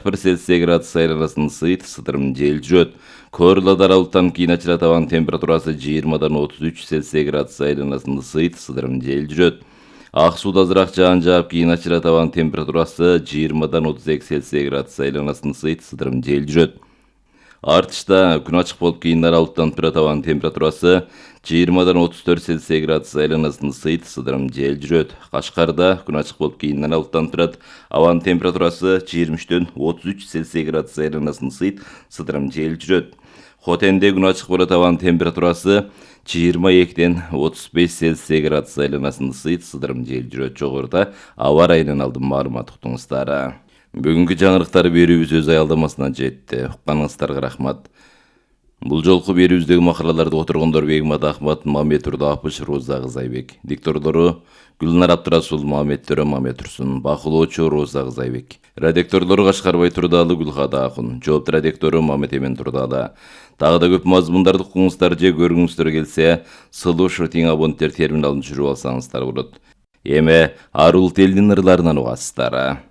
41 Цельсий градус айланасынын ысыйт, сыдырым жел жүрөт. Коорладар аралыктан кийин ачыра табан температурасы 20-дан 33 Цельсий градус айланасынын ысыйт, сыдырым жел жүрөт. Ак сууда азыраак жаан жаап, кийин ачыра табан температурасы 20-дан 32 Цельсий градус айланасынын ысыйт, сыдырым жел жүрөт. Артышта күн ачык болуп, кийин аралыктан тура табан температурасы 20-дан 34 Цельсий градус айланасынын ысыйт, сыдырым жел жүрөт. Кашкарда күн ачык болуп, кийин аралыктан турат. Абанын температурасы 23-төн 33 Цельсий градус айланасынын ысыйт, сыдырым жел жүрөт. Хотенде күн ачык болот, абанын температурасы 22-ден 35 Цельсий градус айланасынын ысыйт, сыдырым жел жүрөт. Жогоруда аба ырайынан алдым маалымат уктуңуздар. Бүгүнкү жаңырыктар берүүбүз өз аялдамасына жетти. Укканыңыздарга рахмат. Бул жолку берүүбүздөгү макалаларды отургондор Бегмат Ахмат, Мамет Турдапыш, Роза Кызайбек. Диктордору Гүлнар Абдырасул, Мамет Төрө, Мамет Турсун. Бакылоочу Роза Кызайбек. Редакторлору Кашкарбай Турдалы, Гүлхада Акун. Жоопту редактору Мамет Эмен Турдалы. Дагы да көп мазмундарды укуңуздар же көргүңүздөр келсе, сылуу шотиң абоненттер терминалын түшүрүп алсаңыздар болот. Эми арул телдин ырларынан угасыздар.